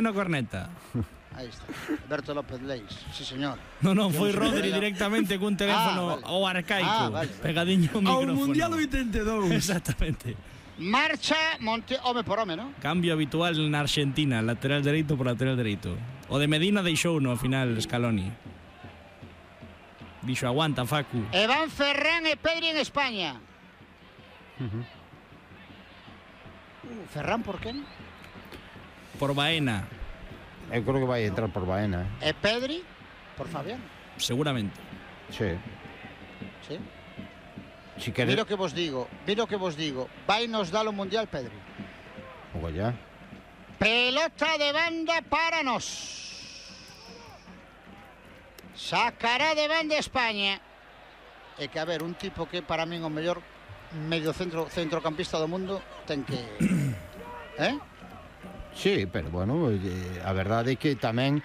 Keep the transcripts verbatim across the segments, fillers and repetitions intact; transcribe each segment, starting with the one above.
no corneta. Aí está, Alberto López Leis, sí señor. Non, non, foi Rodri directamente cun teléfono ah, vale. ao arcaico, ah, vale. pegadiño ao micrófono. Ao Mundial oitenta e dous. Exactamente. Marcha Monte, home por home, ¿no? Cambio habitual na Argentina, lateral dereito por lateral dereito. O de Medina deixou no final Scaloni. Dixo, aguanta, Facu. E van Ferran e Pedri en España. Uh-huh. Ferran por quen? Por Baena. Eu creo que vai entrar por Baena, eh? E Pedri por Fabián. Seguramente. Sí. Sí. Si queres... Mira o que vos digo, mira o que vos digo. Vai nos dar o Mundial, Pedri. Ogo ya. Pelota de banda para nos. Sacará de banda España. É que, a ver, un tipo que para min o mellor medio centro centrocampista do mundo ten que... Eh? Sí, pero bueno, eh, a verdade é que tamén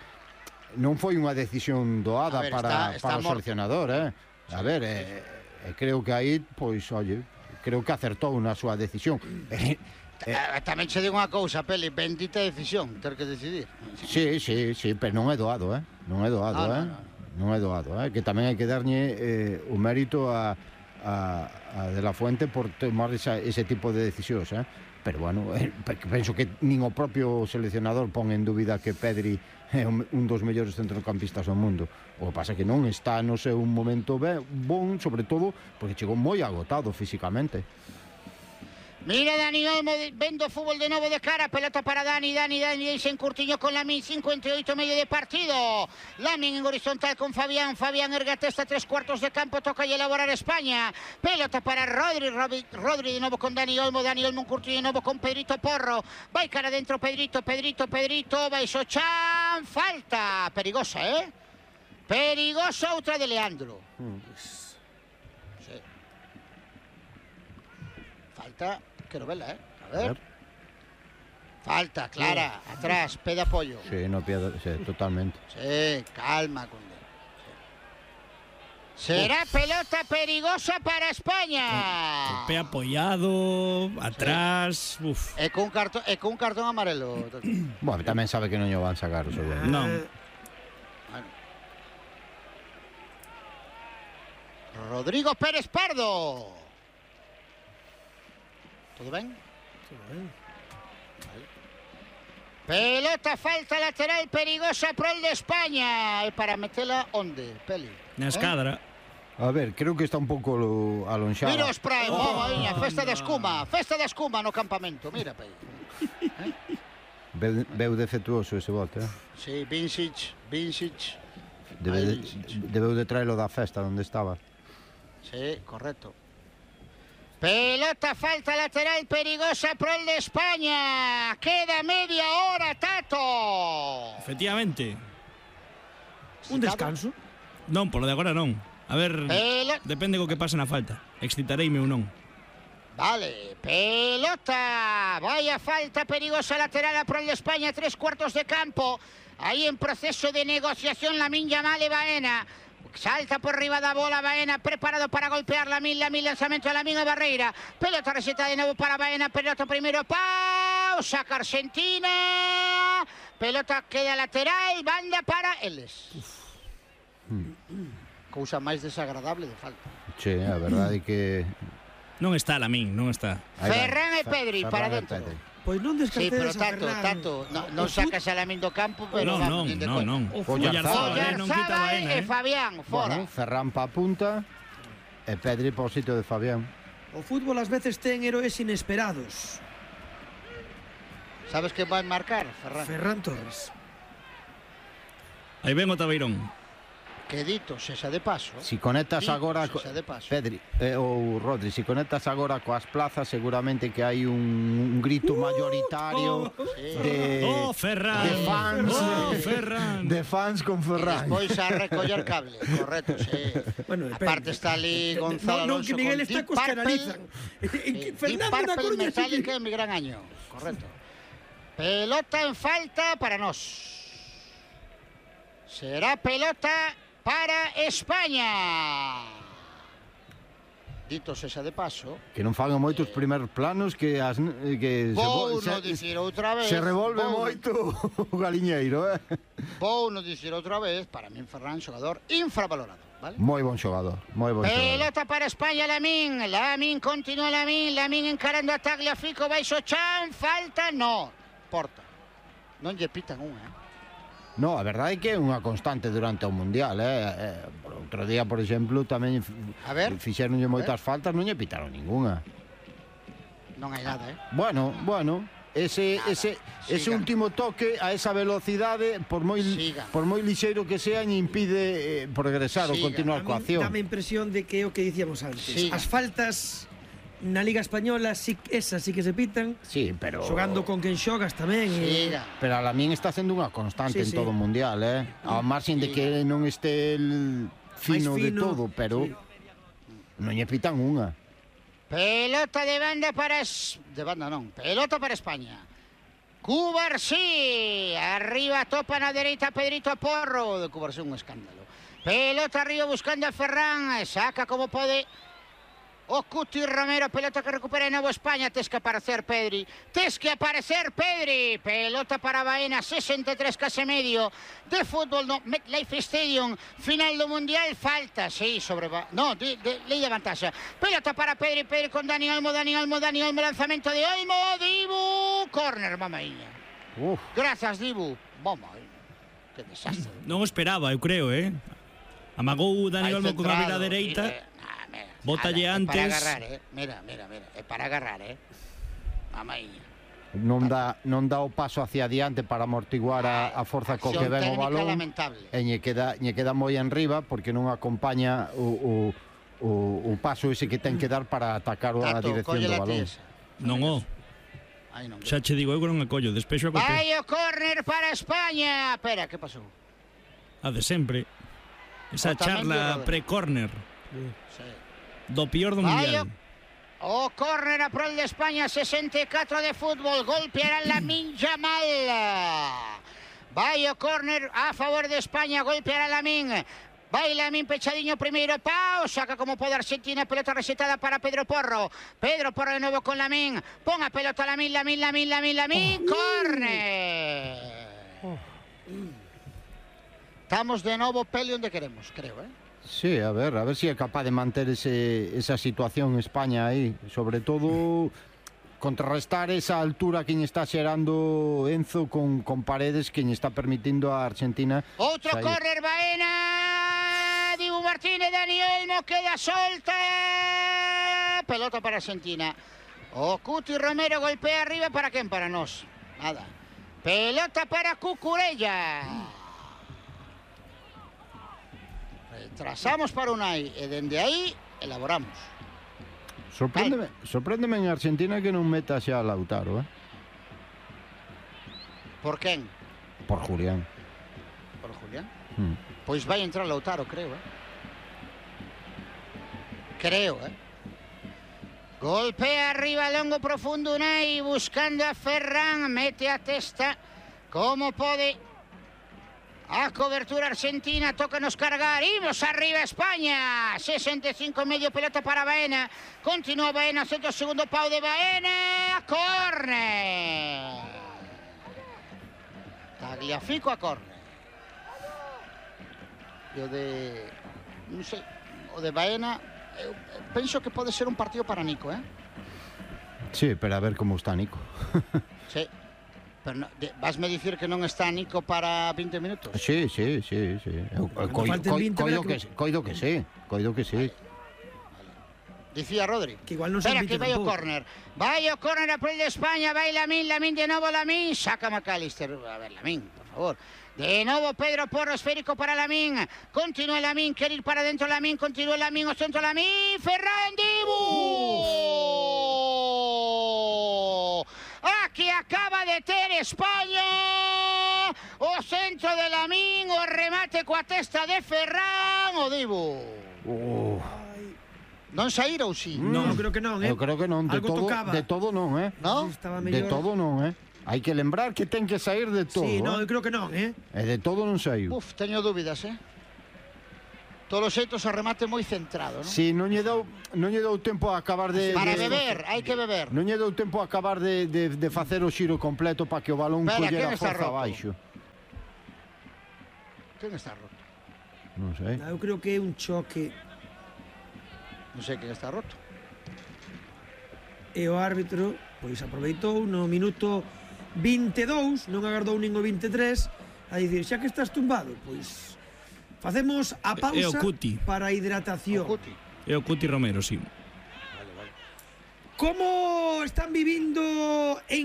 non foi unha decisión doada ver, para, está, está para o morto. seleccionador, eh? A ver, eh, eh, creo que aí, pois, oye, creo que acertou na súa decisión. Eh, eh, Tamén che digo unha cousa, Peli, bendita decisión, ter que decidir. Sí, sí, sí, pero non é doado, eh? Non é doado, Ah, eh? no, no. Non é doado, eh? Que tamén hai que darlle eh, o mérito a, a, a De La Fuente por tomar esa, ese tipo de decisións, eh? Pero bueno, eh, penso que nin o propio seleccionador pon en dúbida que Pedri é un dos mellores centrocampistas do mundo. O que pasa é que non está no seu momento bon, sobre todo porque chegou moi agotado físicamente. Mira Dani Olmo vendo fútbol de novo de cara, pelota para Dani, Dani, Dani, Dani en curtiño con Lamin, cincuenta y ocho medio de partido. Lamin en horizontal con Fabián, Fabián erga testa, tres cuartos de campo, toca y elaborar España. Pelota para Rodri, Rodri, Rodri de nuevo con Dani Olmo, Dani Olmo en curtiño de nuevo con Pedrito Porro. Va cara adentro Pedrito, Pedrito, Pedrito, va Xochan, falta, perigosa, eh? Perigosa outra de Leandro. Sí. Falta... Quiero verla, ¿eh? A ver. Falta, clara, atrás, pé de apoyo. Sí, no pierde, sí, totalmente. Sí, calma, Conde. Sí. Será pelota perigosa para España. El pé apoyado, atrás, sí. Uf. E con, cartón, e con un cartón amarelo. Bueno, tamén sabe que non lle van sacar, seguro. Non. Bueno. Rodrigo Pérez Pardo. ¿Todo ben? Todo ben. Vale. Pelota, falta lateral perigosa pro el de España. E para metela onde, Peli? Na escadra. Eh? A ver, creo que está un pouco alonxada. Mira os Prime, oh, oh, festa de escuma, festa de escuma no campamento, mira, Peli. Eh? Veu, veu defectuoso ese bote, eh? Sí, Vincic, Vincic. Debe Ay, de, Vincic. debeu de traelo da festa onde estaba. Sí, correcto. Pelota, falta lateral perigosa pro el de España. Queda media hora, Tato. Efectivamente. Un descanso. Non, polo de agora non. A ver, Pelo... depende co que pase na falta. Excitareime ou non. Vale, pelota. Vaya falta perigosa lateral pro el de España. Tres cuartos de campo. Ahí en proceso de negociación Lamin Yamal e Baena. Salta por riba da bola Baena, preparado para golpear Lamin, Lamin, lanzamento a Lamin a Barreira. Pelota receta de nuevo para Baena, pelota primero, pausa, Argentina. Pelota queda lateral, banda para Eles. Cousa máis desagradable de falta. Sí, a verdade é que... Non está Lamin, non está. Ferran e Pedri, Ferran para e dentro. Pedri. Pois non Sí, pero descartedes a Tato, Ferran. Tato, non no sacas a Lamin do campo, pero Non, vamos, non, nin de non, coña. non. O Oyarzabal, eh, non quita Oyarzábal Baena, e eh. Fabián, fora. Bueno, Ferran pa punta e Pedri po sitio de Fabián. O fútbol ás veces ten heróis inesperados. Sabes que vai marcar, Ferran? Ferran Torres. Aí ven o Tabeirón. Que dito, sexa de paso. Si conectas Dito, agora co... sexa de paso. Pedri eh, ou Rodri, si conectas agora coas plazas, seguramente que hai un, un grito mayoritario Sí. de Oh, Ferran. de fans, Oh, de, Ferran. de fans con Ferran. Despois a recoller cable, correcto, sí. Bueno, depende. Aparte está ali Gonzalo No, non, que Alonso Miguel con está Deep cos que Purple. analizan. Sí, Fernando Deep da Purple Coruña Metallica sí. en mi gran año, correcto. Pelota en falta para nós. Será pelota para España. dito sexa de paso, Que non fagan moitos primeiros planos que as que vou se, no dicir outra vez, se revolve vou, moito o galiñeiro, eh? Vou no dicir outra vez, para min Ferran xogador infravalorado, vale? Moi bon xogador, moi bon xogador. Pelota para España, Lamín, Lamín continúa Lamín, Lamín encarando a Tagliafico, baixo Chan, falta, no, porta. Non lle pitan unha, eh? No, a verdade é que é unha constante durante o Mundial, eh? eh outro día, por exemplo, tamén A ver. fixeronlle moitas faltas, non lle pitaron ningunha. Non hai nada, eh? Bueno, bueno, ese Nada, ese ese sigan. último toque a esa velocidade, por moi Sigan. por moi lixeiro que sea, lle impide eh, progresar ou Sigan. continuar A coa min acción. dame a impresión de que é o que dicíamos antes. Siga. As faltas na Liga Española, sí, esas sí que se pitan. Sí, pero Xogando con quen xogas tamén. e- Siga. pero a Lamín está sendo unha constante Sí, en sí. todo o Mundial, eh? Ao marxen de que non este el fino, máis de todo, pero sí. non lle pitan unha. Pelota de banda para... Es... De banda non, pelota para España. Cubarsí, arriba topa na dereita Pedrito Porro, de Cubarsí un escándalo. Pelota arriba buscando a Ferran, saca como pode o Cuti Romero, pelota que recupera de novo España, tes que aparecer Pedri, tes que aparecer Pedri, pelota para Baena, sesenta e tres case medio de fútbol no MetLife Stadium, final do Mundial, falta, sí, sobre, no, de, de, lei de vantaxa, pelota para Pedri, Pedri con Dani Olmo, Dani Olmo, Dani Olmo, lanzamento de Olmo, Dibu, córner, mamaíña, Uf, grazas Dibu, mamaíña, que desastre. Non o esperaba, eu creo, eh? Amagou Dani Vai Olmo con a centrado, vira dereita. mira, nah, mira, Bótalle nada, é antes. para agarrar, eh. Mira, mira, mira, é para agarrar, eh. Mamaíña. non dá non dá o paso hacia adiante para amortiguar a, a forza co que Acción ven o técnica balón. lamentable. E lle queda, lle queda moi enriba porque non acompaña o, o, o, o paso ese que ten que dar para atacar a Tato, dirección do cóllela ti balón. esa. Non o. Ai, non. Xa che digo eu que non a collo, despexo a golpe. Vai o córner para España. Espera, que pasou? A de sempre. Esa Otamendi charla ou Rodri? pre-corner Sí. do pior do Vai mundial. o córner a prol de España, sesenta e catro de fútbol, golpeará Lamine Yamal. Vai o córner a favor de España, golpeará Lamine. Vai Lamine pechadiño primeiro, pau, saca como pode Argentina, pelota resetada para Pedro Porro. Pedro Porro de novo con Lamine. Pon a pelota Lamine, Lamine, Lamine, Lamine, Lamine, córner. Estamos de novo pele onde queremos, creo, eh? Sí, a ver, a ver si é capaz de manter ese, esa situación en España aí, sobre todo contrarrestar esa altura que lle está xerando Enzo con, con Paredes que lle está permitindo a Argentina Outro sair. córner, Baena, Dibu Martínez, Dani Olmo, queda solta, pelota para Argentina. O Cuti Romero golpea arriba, para quen? Para nós, nada. Pelota para Cucurella. Retrasamos para Unai e dende aí elaboramos. Sorpréndeme, sorpréndeme en Argentina que non meta xa a Lautaro, eh? Por quen? Por Julián. Por Julián. Mm. Pois vai entrar Lautaro, creo, eh? Creo, eh? Golpea arriba, longo, profundo, Unai, buscando a Ferran, mete a testa, como pode. A cobertura argentina, tócanos cargar, imos arriba España, sesenta e cinco medio, pelota para Baena, continúa Baena, centro segundo pau de Baena, córner. Tagliafico a córner. E o de, non sei, o de Baena, eu penso que pode ser un partido para Nico, eh? Sí, pero a ver como está Nico. Sí. Pero no, de, vasme dicir que non está Nico para vinte minutos? Sí, sí, sí, sí. Eu, eu, coi, falten coi, vinte, coido, verá que, que- coido que sí, coido que sí. Dicía Rodri. Que igual non son Espera, que vinte vai o tampouco. córner. Vai o córner a prol de España, vai Lamín, Lamín de novo, Lamín, saca McAllister. A ver, Lamín, por favor. De novo Pedro Porro, esférico para Lamín. Continúa Lamín, quer ir para dentro Lamín, continúa Lamín, o centro Lamín, Ferran Dibu. Aquí acaba de ter España. O centro de Lamín, o remate coa testa de Ferran, o Dibu. Uh, Non saíra ou si? Non, creo que non, eh? eu creo que non, de Algo todo, tocaba. de todo non, eh? No? Estaba De mellor. todo non, eh? Hai que lembrar que ten que sair de todo, Sí, non, eh? eu creo que non, eh? E de todo non saiu. Uf, teño dúbidas, eh? todos os xeitos o remate moi centrado, non? Si, non lle dou, non lle dou tempo a acabar de... Para de, beber, hai que beber. Non lle dou tempo a acabar de, de, de facer o xiro completo para que o balón Espera, collera quen está forza roto? abaixo. Quen está roto? Non sei. Eu creo que é un choque Non sei quen está roto. e o árbitro pois aproveitou no minuto vinte e dous, non agardou nin o vinte e tres, a dicir, xa que estás tumbado, pois facemos a pausa É o Cuti. para a hidratación. O Cuti. É o Cuti Romero, sí. Como están vivindo en